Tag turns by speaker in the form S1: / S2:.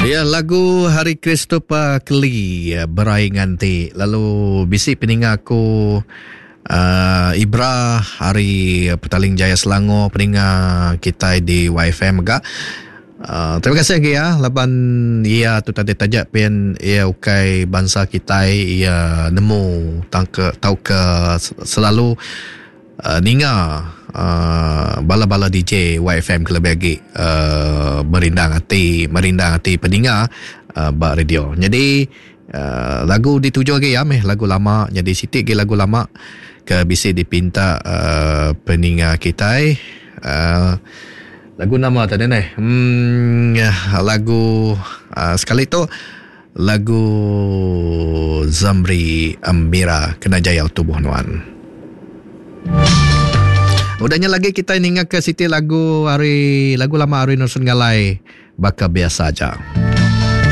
S1: Dia lagu Hari Christopher Keli berai nganti lalu bisi peninga aku uh, Ibra hari Petaling Jaya Selangor peninga kitai di YFM mega. Uh, terima kasih lagi ya laban ia tu tadi taja pin ia ukai bansa kitai ia nemu tangka tauka selalu uh, ninga uh, bala-bala DJ YFM kelebih agi uh, merindang ati merindang ati peninga uh, ba radio. Jadi uh, lagu dituju agi ya meh lagu lama jadi siti agi lagu lama ke bisi dipinta uh, peninga kitai uh, lagu nama tadi neh hmm lagu uh, sekali tu Lagu Zamri Amira kena jayau tubuh nuan. Udah nya lagi kitai ninga ke siti lagu ari lagu lama ari Nelson Galai baka biasa aja.